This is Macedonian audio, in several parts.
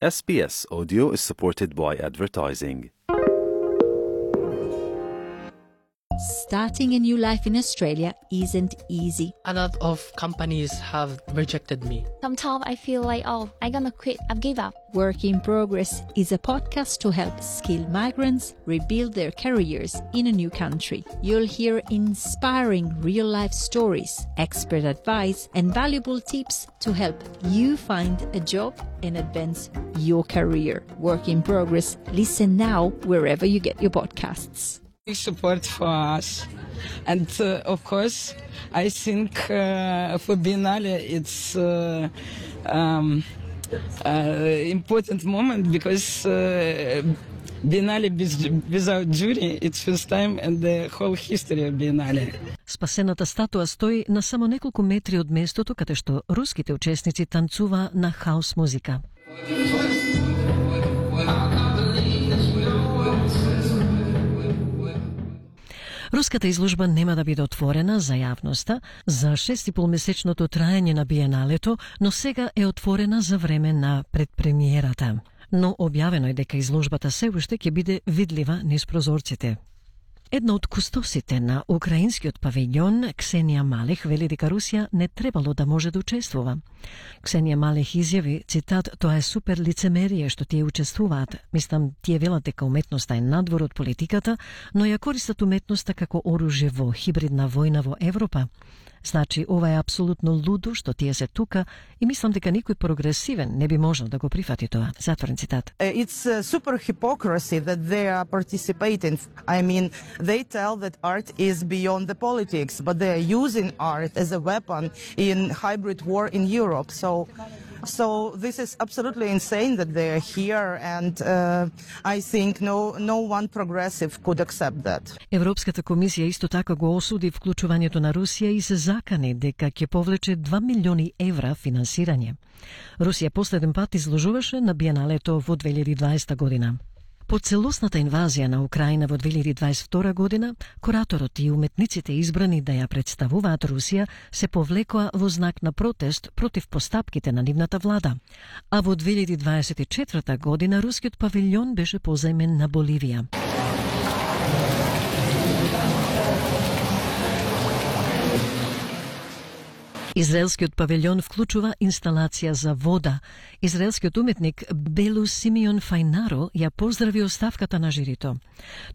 SBS Audio is supported by advertising. Starting a new life in Australia isn't easy. A lot of companies have rejected me. Sometimes I feel like, I'm gonna quit, I've give up. Work in Progress is a podcast to help skilled migrants rebuild their careers in a new country. You'll hear inspiring real-life stories, expert advice, and valuable tips to help you find a job and advance your career. Work in Progress. Listen now wherever you get your podcasts. Support for us, and of course I think for Biennale it's important moment because Biennale without jury it's first time in the whole history of Biennale. Спасената статуа стои на само неколку метри од местото каде што руските учесници танцува на хаус музика. Руската изложба нема да биде отворена за јавноста за 6,5-месечното траење на биеналето, но сега е отворена за време на предпремиерата. Но објавено е дека изложбата се уште ќе биде видлива низ прозорците. Една од кустосите на украинскиот павилјон, Ксенија Малех, вели дека Русија не требало да може да учествува. Ксенија Малех изјави, цитат, тоа е супер лицемерие што тие учествуваат. Мислам, тие велат дека уметноста е надвор од политиката, но ја користат уметноста како оружје во хибридна војна во Европа. Значи, ова е апсолутно лудо што тие се тука и мислам дека никој прогресивен не би можел да го прифати тоа. Затворен цитат. It's super hypocrisy that they are participating. I mean, they tell that art is beyond the politics, but they are using art as a weapon in hybrid war in Europe. So this is absolutely insane that they are here, and I think no one progressive could accept that. Европската комисија исто така го осуди вклучувањето на Русија и се закани дека ќе повлече 2 милиони евра финансирање. Русија последен пат изложуваше на биеналето во 2020 година. По целосната инвазија на Украина во 2022 година, кураторот и уметниците избрани да ја представуваат Русија се повлекоа во знак на протест против постапките на нивната влада. А во 2024 година рускиот павилјон беше позајмен на Боливија. Израелскиот павилјон вклучува инсталација за вода. Израелскиот уметник Белу Симеон Фајнаро ја поздрави оставката на жирито.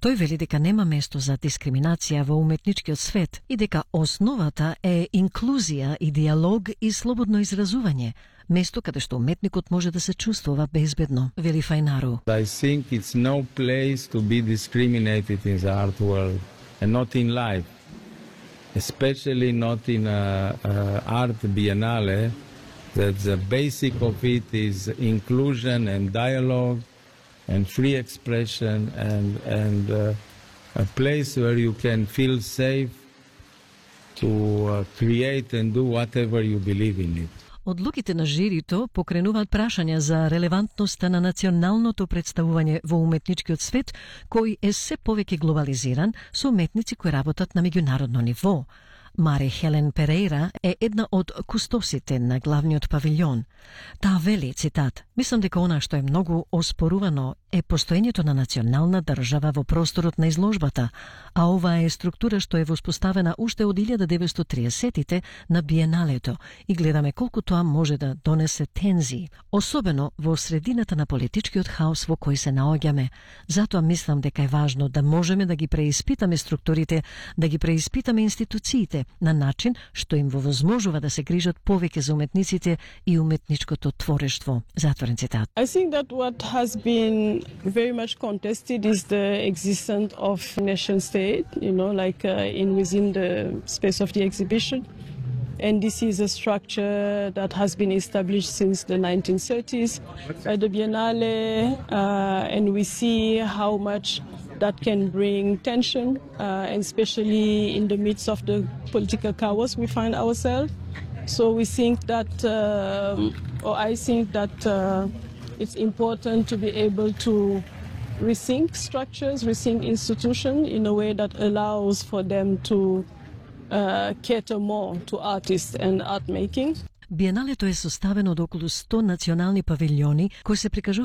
Тој вели дека нема место за дискриминација во уметничкиот свет и дека основата е инклузија и диалог и слободно изразување, место каде што уметникот може да се чувствува безбедно, вели Фајнаро. I think it's no place to be discriminated in the art world and not in life. Especially not in art biennale, that the basic of it is inclusion and dialogue and free expression and a place where you can feel safe to create and do whatever you believe in it. Одлуките на жирито покренуваат прашања за релевантноста на националното представување во уметничкиот свет, кој е се повеќе глобализиран со уметници кои работат на меѓународно ниво. Мари Хелен Перейра е една од кустосите на главниот павилјон. Таа вели, цитат, мислам дека она што е многу оспорувано е постоењето на национална држава во просторот на изложбата, а ова е структура што е воспоставена уште од 1930-тите на биеналето и гледаме колку тоа може да донесе тензии, особено во средината на политичкиот хаос во кој се наоѓаме. Затоа мислам дека е важно да можеме да ги преиспитаме структурите, да ги преиспитаме институциите на начин што им возможува да се грижат повеќе за уметниците и уметничкото творештво. Затворен цитат. I think that what has been very much contested is the existence of nation state, within the space of the exhibition. And this is a structure that has been established since the 1930s by the Biennale, and we see how much that can bring tension, and especially in the midst of the political chaos we find ourselves. So we think that, I think that it's important to be able to rethink structures, rethink institutions in a way that allows for them to cater more to artists and art making. Биеналето е составено од околу 100 национални павилјони кои се прикажуваат